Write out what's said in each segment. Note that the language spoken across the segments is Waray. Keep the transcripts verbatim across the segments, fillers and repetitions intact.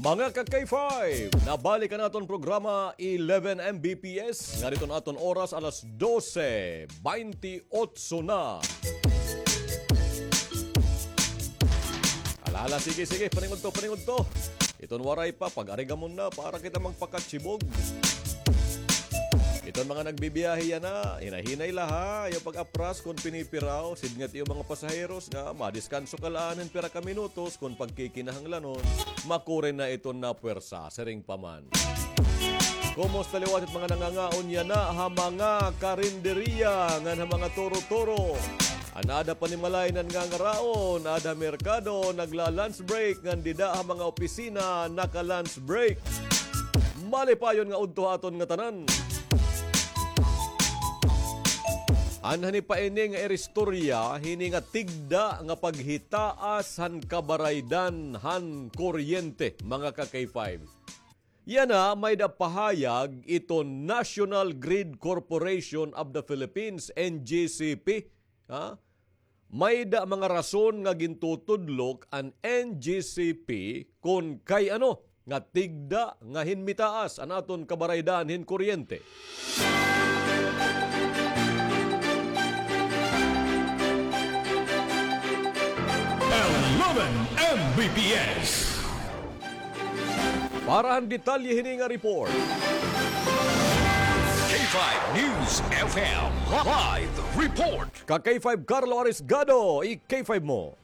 Mga ka-K five, nabalik an aton programa eleven M B P S, ngan iton aton oras alas dose baynte otso na. Ala, ala, sige, sige, paningudto, paningudto. Iton waray pa, pag-arigamon na para kita magpakatsibog. Iton mga nagbibiyahe yana, hinay-hinay la ha, ayaw pag-apras kon pinipiraw, sidngat iyo mga pasaheros nga madiskanso ka la hin pira ka minutos kon pagkikinahanglanon, makuri na iton napwersa, siring pa man. Kumusta liwat it mga nangangaon yana ha mga karinderiya ngan ha mga turo-turo? An aada panimalay nangangaraon, aada ha merkado, nagla-lunch break, ngan dida ha mga opisina, naka-lunch break. Malipayon nga udto ha aton ngatanan. An hani pa ini nga iristorya, hini nga tigda nga paghitaas han kabaraydan han kuryente, mga ka-K five. Yana, may-ada pahayag iton National Grid Corporation of the Philippines, N G C P. Ha? May-ada mga rason nga gintutudlok an N G C P kon kay ano nga tigda nga hinmitaas an aton kabaraydan hin kuryente. Eleven M B P S. Para han detalye hini nga report. K five News F M live report. Ka-K five Carlo Arisgado, i-K five mo.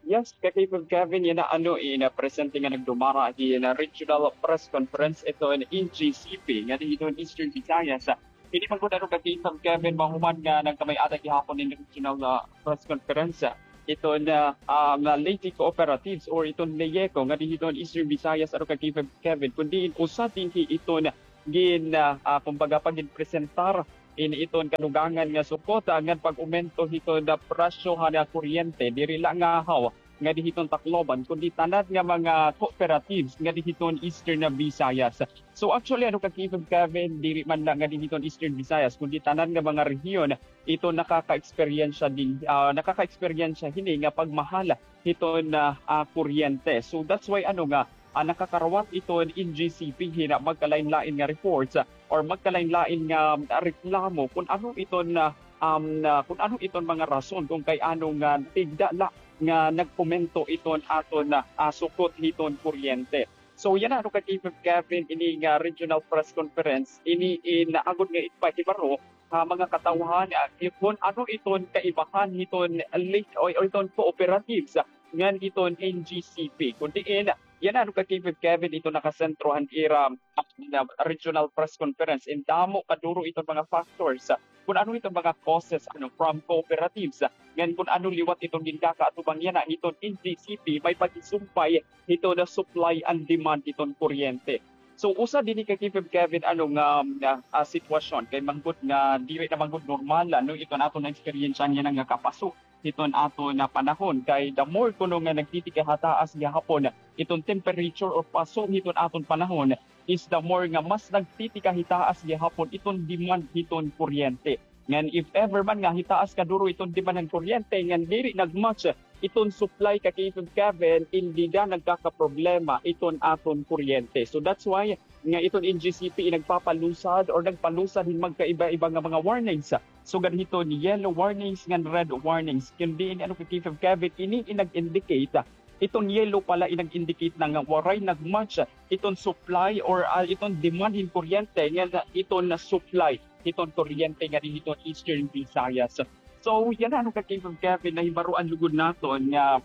Yes, ka-K five Kevin, yana ano, in, ah, presente nga nagdumara hin, ah, regional press conference iton N G C P nga dinhi hiton Eastern Visayas. Ini man gud ano, ka-K five Kevin, mahuman nga nagkamay-ada gihapon hin regional, ah, press conference, ah, iton, ah, um, Leyte Cooperatives or iton LECO nga dinhi hiton Eastern Visayas, ano, ka-K five Kevin, kun diin usa dinhi iton gin, ah, ah, kumbaga, pagginpresentar ini iton kadugangan nga sukot, ah, ngan pag-umento hiton, ah, presyo han, ah, kuryente, diri la ngahaw nga dinhi hiton Tacloban, kundi tanan nga mga cooperatives nga dinhi hiton Eastern, ah, Visayas. So, actually, ano, ka-K five Kevin, diri man la nga dinhi hiton Eastern Visayas, kundi tanan nga mga rehiyon iton nakaka-eksperyensya din, ah, nakaka-eksperyensya hini nga pagmahal hiton, ah, ah, kuryente. So, that's why, ano, nga ah, nakakarawat iton N G C P hin magkalain-lain nga reports, ah, or magkalain-lain nga, ah, reklamo kun ano iton, ah, um, ah, kun ano iton mga rason kun kay ano nga tigda la nga nag-umento iton aton, ah, ah, sukot hiton kuryente. So, yana, ano, ka-K five Kevin, ini nga regional press conference, ini in agod nga ipahibaro ha mga katawhan, ah, kun ano iton kaibahan hiton LECO o, o iton cooperatives, ah, ngan iton N G C P. Kun diin, yana, ano, ka-K five Kevin, iton nakasentro han ira, ah, regional press conference, in damo kaduro iton mga factors, ah, kun ano iton mga causes, ano, from cooperatives, ah, ngan kun ano liwat iton gindakaatubang yana hiton N G C P, may paghisumpay hiton supply and demand hiton kuryente. So, usa dinhi, ka-K five Kevin, ano, nga, nga, ah, sitwasyon kay man gud nga diri na man gud normal, ano, iton aton naeksperyensyahan yana nga kapaso hiton aton, ah, panahon, kay the more kuno nga nagtitikahitaas gihapon iton temperature or paso hiton aton panahon, is the more nga mas nagtitikahitaas gihapon iton demand hiton kuryente. Ngan if ever man nga hitaas kaduro iton demand han kuryente, ngan diri nag-match iton supply, ka-K five Kevin, in dida nagkakaproblema iton aton kuryente. So that's why nga iton N G C P in nagpapalusad or nagpalusad hin magkaiba-iba nga mga warnings. Sugad hiton yellow warnings ngan red warnings. Kun diin, ano, ka-K five Kevin, ini in nag-indicate, iton yellow pala in nag-indicate na nga waray nag-match iton supply or, ah, iton demand hin kuryente ngan iton supply hiton kuryente nga dinhi hiton Eastern Visayas. So, yana, ano, ka-K five Kevin, nahibaroan lugod naton nga,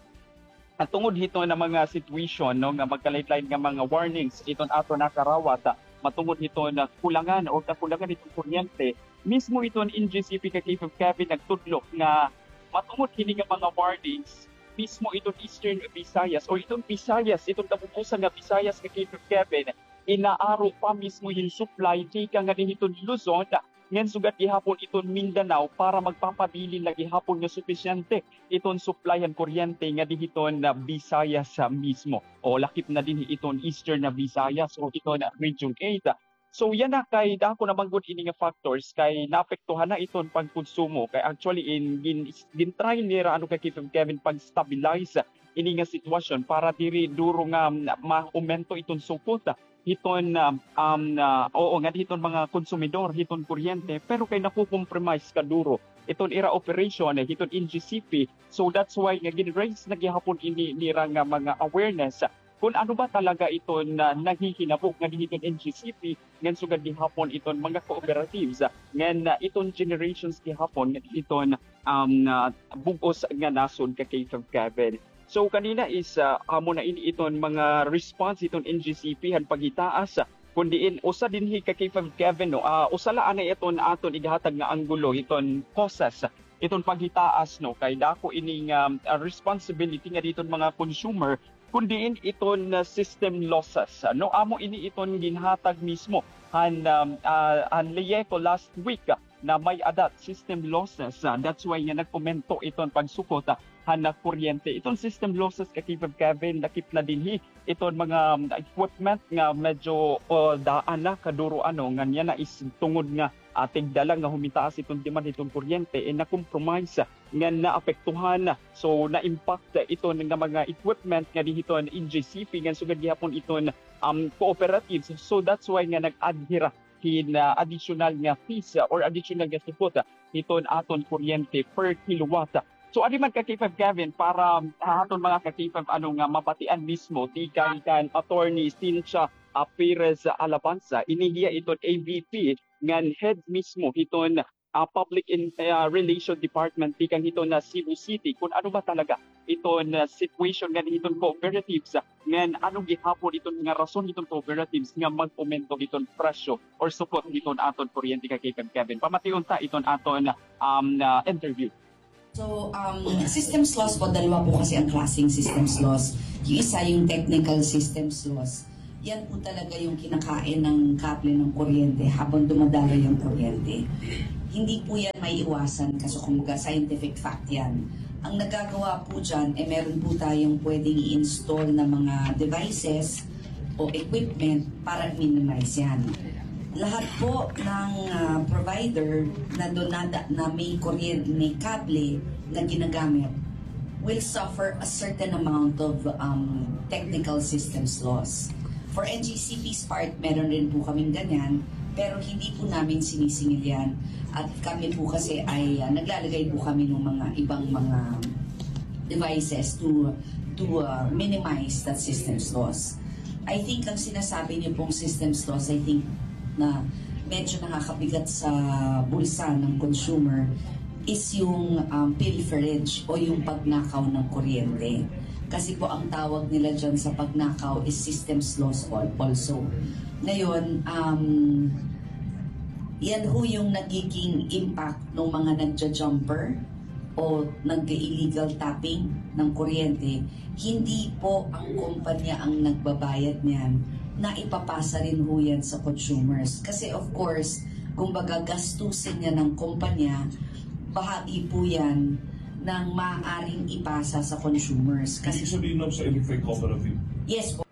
ah, tungod hiton mga situation, no, nga magkalain-lain nga mga warnings iton aton nakarawat, ah, matungod hiton, ah, kulangan o kakulangan hiton kuryente, mismo iton N G C P, ka-K five Kevin, nagtudlo nga matungod hini nga mga warnings, mismo iton Eastern Visayas o iton Visayas, iton kabubusan nga Visayas, ka-K five Kevin, inaaro pa mismo hin supply tikang nga dinhi hiton Luzon, ngan sugad gihapon iton Mindanao para magpapabilin la gihapon nga supisyente iton supply han kuryente nga dinhi hiton, ah, Visayas, ah, mismo. O lakip na dinhi iton Eastern na Visayas o iton, ah, Region eight. So, yana kay dako na man gud ini nga factors kay naapektuhan na iton pagkonsumo. Kay actually in gin-, gin-try nira, ano, ka-K five Kevin, pag-stabilize ini nga sitwasyon para diri duro nga, um, maumento iton sukot, ah, hiton, ah, um, ah, oo, nga hiton mga konsumidor hiton kuryente, pero kay nakukompromise kaduro iton ira operation, eh, hiton N G C P. So that's why nga gin-raise na gihapon ini nira nga mga awareness, ah, kun ano ba talaga iton, ah, nahihinabo nga hiton N G C P ngan sugad gihapon iton mga cooperatives, ah, ngan, ah, iton generations gihapon nga hiton, um, ah, bug-os nga nasod ka K five Kevin. So kanina is, ah, amo na ini iton mga response iton N G C P han paghitaas, ah, kun diin usa dinhi ka K five Kevin, no, ah, usa la anay iton aton ighatag nga anggulo hiton causes, ah, iton paghitaas, no, kay dako ini nga, ah, responsibility nga hiton mga consumer kun diin iton, ah, system losses, ah, no, amo ini iton ginhatag mismo han, um, ah, han LEEECO last week, ah, na may-ada system losses, ah, that's why nga nag-umento iton pagsukot, ah, han kuryente. Iton system losses ka K five Kevin, lakip na dinhi iton mga, um, equipment nga medyo, uh, daan na kaduro, ano, ngan yana is tungod nga, ah, tigda la nga humitaas iton demand hiton kuryente, eh, na-compromise, ah, ngan naapektuhan, ah, so na-impact, ah, iton nga mga equipment nga dinhi hiton N G C P ngan sugad gihapon iton, um, cooperatives. So that's why nga nag-add hira hin, ah, additional nga fees, ah, or additional nga sukot, ah, hiton aton kuryente per kilowatt. So, adi man ka K five Kevin para, ah, aton mga ka K five ano nga mabatian mismo tikang kan Attorney Cynthia, ah, Perez Alabanza, ini hiya iton A V P ngan head mismo hiton, ah, Public in, ah, Relation Department tikang hiton, ah, Cebu City kun ano ba talaga iton, ah, situation ngan hiton cooperatives, ah, ngan ano gihapon iton nga rason hiton cooperatives nga mag-umento hiton presyo or sukot hiton aton kuryente ka K five Kevin. Pamation ta iton aton, um, ah, interview. So, um, systems loss po, dalawa po kasi ang klaseng systems loss. Yung isa, yung technical systems loss. Yan po talaga yung kinakain ng kable ng kuryente habang dumadaloy ang kuryente. Hindi po yan maiiwasan kasi kumbaga scientific fact yan. Ang nagagawa po dyan, eh, meron po tayong pwedeng i-install na mga devices o equipment para minimize yan. Lahat po ng, ah, provider na donada, na may kuryente, may kable na ginagamit, will suffer a certain amount of, um, technical systems loss. For N G C P's part, meron rin po kaming ganyan, pero hindi po namin sinisingil yan. At kami po kasi ay, ah, naglalagay po kami ng mga ibang mga devices to, to, ah, minimize that systems loss. I think ang sinasabi niyo pong systems loss, I think na medyo nakakabigat sa bulsa ng consumer is yung, um, pilferage o yung pagnakaw ng kuryente. Kasi po ang tawag nila dyan sa pagnakaw is systems loss al-, also. Ngayon, um, yan ho yung nagiging impact ng mga nagja-jumper o nag-illegal tapping ng kuryente. Hindi po ang kumpanya ang nagbabayad niyan, naipapasa rin ho yan sa consumers. Kasi of course, kumbaga gastusin niya ng kumpanya, bahagi po yan ng maaaring ipasa sa consumers. Kasi ibig sabihin, ma'am, sa electric cooperative? Yes po.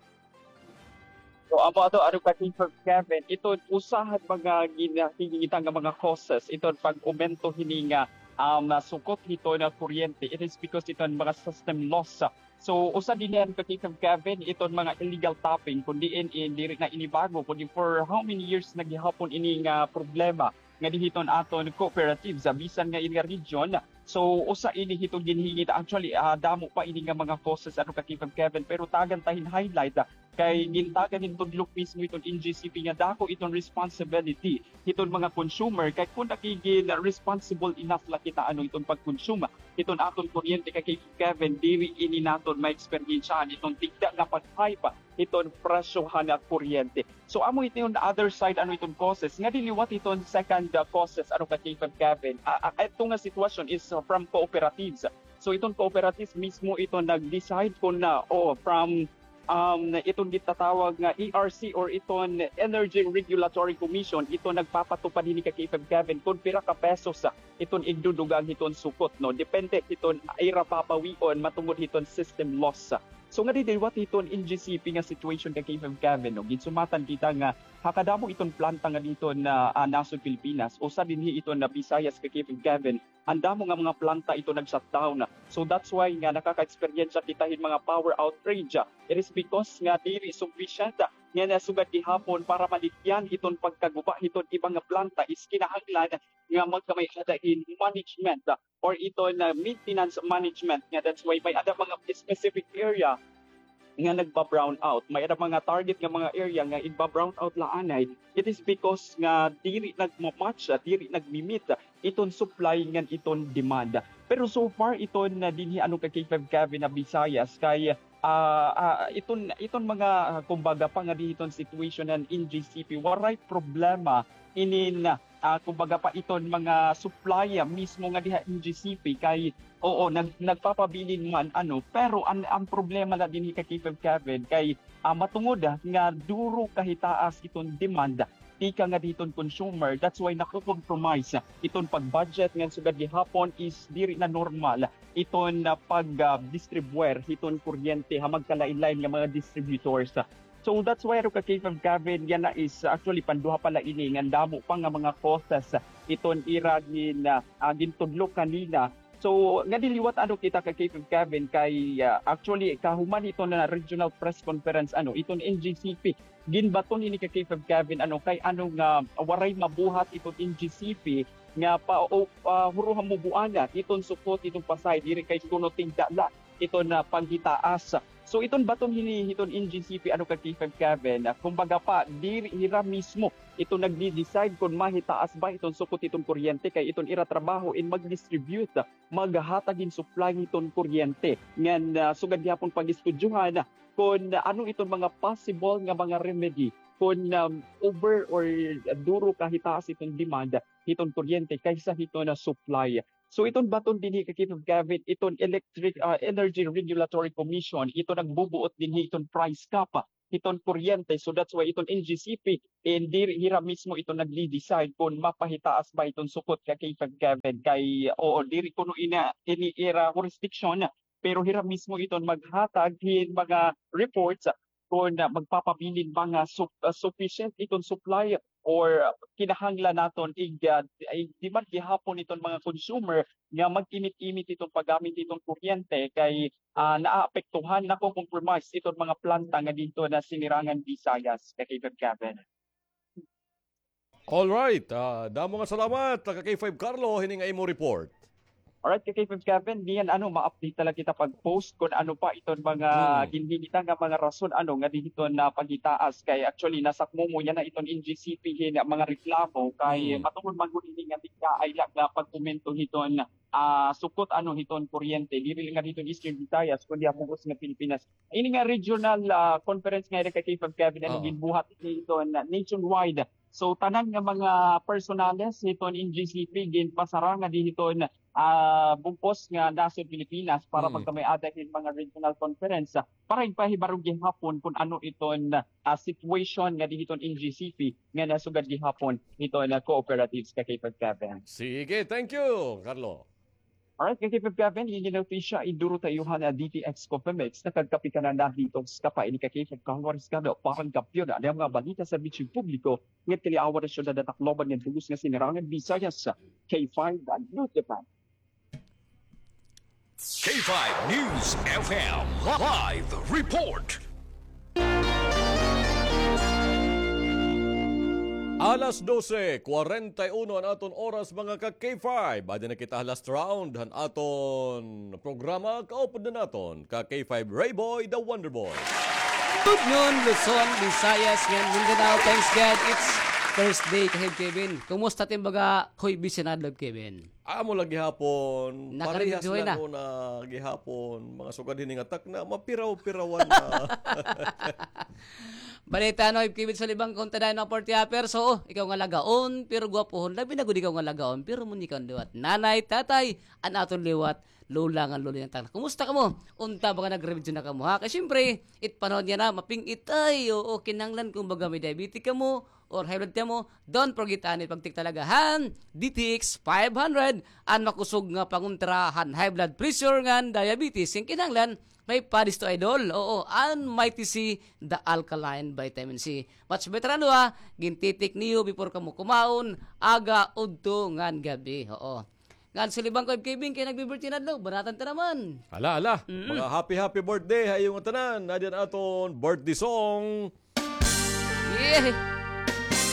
So, amo ato, ano ka, Teacher Kevin, iton usa han mga ginahingita nga mga causes, iton pag-umento hini nga, um, sukot hiton kuryente. It is because iton mga system loss. So, usa dinhi, ano ka, Teacher Kevin, iton mga illegal tapping, kun diin, eh, diri na ini bago, kundi for how many years na gihapon ini nga problema nga dinhi hiton aton cooperatives, ah, bisan nga ini nga region. So, usa ini hiton ginhingita. Actually, ah, damo pa ini nga mga causes, ano ka, Teacher Kevin, pero tagan ta hin highlight, ah, kay gintagan hin tudlok mismo hiton N G C P nga dako iton responsibility hiton mga consumer, kay kun nakigin responsible enough la kita, ano, iton pagkonsuma hiton aton kuryente, kay Teacher Kevin, diri ini naton ma-eksperyensyahan iton tigda nga pag-hike hiton presyo han kuryente. So, amo iton other side, ano, iton causes. Ngadi liwat iton second, uh, causes, ano ka, Teacher Kevin. Ah, ah, ito nga sitwasyon is, uh, from cooperatives. So, iton cooperatives mismo iton nag-decide kun na, o from, um, iton gitatawag nga E R C or iton Energy Regulatory Commission, iton nagpapatupad hini ka Teacher Kevin kun pira ka pesos iton igdudugang hiton sukot, no? Depende hiton ira babawion matungod hiton system loss. So, ngadi liwat hiton N G C P nga situation ka Teacher Kevin, no? Ginsumatan kita nga ha kadamo iton planta nga dinhi hiton, ah, nasod Pilipinas, usa dinhi iton, ah, Visayas ka Teacher Kevin, an damo nga mga planta ito nag-shutdown. So that's why nga nakaka-eksperyensya kita hin mga power outrage. It is because nga diri sufficient nga nasugad gihapon para maligyan iton pagkaguba hiton iba nga planta is kinahanglan nga magkamay-ada hin management or iton, ah, maintenance management nga that's why may-ada mga specific area nga nagba-brown out. May-ada mga target nga mga area nga igba-brown out la anay. It is because nga diri nagma-match, ah, diri nagmi-meet, ah, iton supply ngan iton demand. Pero so far iton, ah, dinhi ano ka K five Kevin ha Visayas kay, ah, ah, iton, iton mga, ah, kumbaga pa nga dinhi iton situation han N G C P, waray problema inin, ah, kumbaga pa iton mga supply, ah, mismo nga diha N G C P kay, oo, nag-, nagpapabilin man, ano, pero an, an problema la dinhi ka K five Kevin kay, ah, matungod, ah, nga duro kahitaas iton demand tikang nga diton consumer. That's why nako-compromise, ah, iton pag-budget ngan sugad gihapon is diri na normal iton, ah, pag, ah, distribuer hiton kuryente ha magkalain-lain nga mga distributors. So that's why ano ka K five Kevin, yana is actually panduha pa la ini ngan damo pa nga mga causes iton ira gin, ah, ah, gintudlo kanina. So ngadi liwat ano kita ka K five Kevin kay, ah, actually kahuman iton, ah, regional press conference ano iton N G C P, ginbaton ini ka K five Kevin ano kay ano nga waray mabuhat iton N G C P nga pa, o, ah, huruha mo buana iton sukot iton Pasay diri kay kuno tigda la iton, ah, paghitaas. So iton baton hini hiton N G C P ano ka K five Kevin, ah, kumbaga pa diri hira mismo iton nagdi-decide kon mahitaas ba iton sukot hiton kuryente kay iton ira trabaho in mag-distribute, ah, maghatag hin supply hiton kuryente. Ngan, ah, sugad gihapon pag-istudyohan, ah, kon ano iton mga possible nga mga remedy kon, um, over or duro kahitaas iton demand hiton kuryente kaysa hiton, ah, supply. So iton baton dinhi ka K five Kevin, iton Electric, ah, Energy Regulatory Commission, iton nagbubuot dinhi iton price cap, ah, hiton kuryente. So that's why iton N G C P, eh, diri hira mismo iton nagdi-decide kon mapahitaas ba iton sukot ka K five Kevin. Kay, oo, diri kuno ina, ini ira jurisdiction, pero hira mismo iton maghatag hin mga reports kon, ah, magpapabilin ba nga sup-, ah, sufficient iton supply or, ah, kinahanglan naton ig-, ah, ig-demand gihapon iton mga consumer nga mag-imit-imit iton paggamit iton kuryente kay, ah, naapektuhan, nako-compromise iton mga planta nga didto ha Sinirangan Visayas, ka Kevin Kevin. Alright, ah, damo nga salamat, ka K five Carlo, hini nga imo report. Alright, ka K five Kevin, niyan ano, ma-update na la kita pag-post kon ano pa iton mga ginhilita nga mga rason, ano, nga dinhi iton, ah, paghitaas. Kay actually, nasakmo mo yana iton N G C P hin mga reklamo. Kay matungod man gud ini nga tigkaay la nga pagkomento hiton, ah, sukot, ano, hiton kuryente. Diri la nga dinhi iton Eastern Visayas, kundi ha bug-os nga Pilipinas. Ini nga regional, ah, conference nga ira ka K five Kevin, ano, ginbuhat ini iton, ah, nationwide. So, tanan nga mga personales hiton N G C P ginpasara ngadi hiton, ah, bug-os nga nasod Pilipinas para magkamay-ada hin mga regional conference, ah, para igpahibaro gihapon kon ano iton, ah, situation ngadi hiton N G C P nga nasugad gihapon hiton, ah, cooperatives ka K five Kevin. Sige, thank you, Carlo. Alright, ka K five Kevin, ini nga notisya, iduro ta iyo han D T X Coffee Mix, nakagkape ka na na dito sa kapa, ini ka K five Carlo Riscado, para han kampiyon, ano nga balita sa serbisyo publiko, ngadto ha liwat han syudad han Tacloban ngan bug-os nga Sinirangan Visayas, K five News F M. K five News F M Live Report. Alas dose, kwarenta y uno an aton oras, mga ka K five. Adi na kita ha last round han aton programa. Kaupod na naton ka K five Ray Boy, the Wonder Boy. Good noon, Luzon, Visayas, ngan Mindanao. Thanks God, it's Thursday, Kahib Kevin. Kumusta it im baga, Hoy Bisinadlog, Kevin? Amo la gihapon, parehas la una gihapon, mga sugad hini nga takna, mapiraw-pirawan na. Balita, no, Kevin, sa libang konta dayon mga party hopper. So, ikaw nga lagaon, pero gwapohon, labi na gud ikaw nga lagaon, pero munikaw liwat. Nanay, tatay, an aton liwat, lola ngan lola nga takna. Kumusta kamo? Unta ba nga nag-review na kamo, ha? Kay siyempre, it panahon yana, maping-it ay, oo, kinahanglan kumbaga may diabetes kamo, or high blood kamo, don't forget anay pagtik talaga han D T X five hundred, an makusog nga pangontra han high blood pressure ngan diabetes. Ngan kinahanglan may padisto, idol. Oo, an Mighty C, the alkaline vitamin C. Much better an duha, gintitik niyo before kamo kumaon, aga, udto ngan gab-i. Oo. Ngan si Libang ko, Kevin, kay nagbi-birthday na adlaw. Banatan ta naman. Hala, hala. Mm. Mga happy, happy birthday ha iyo nga tanan. Adi an aton birthday song. Yeah.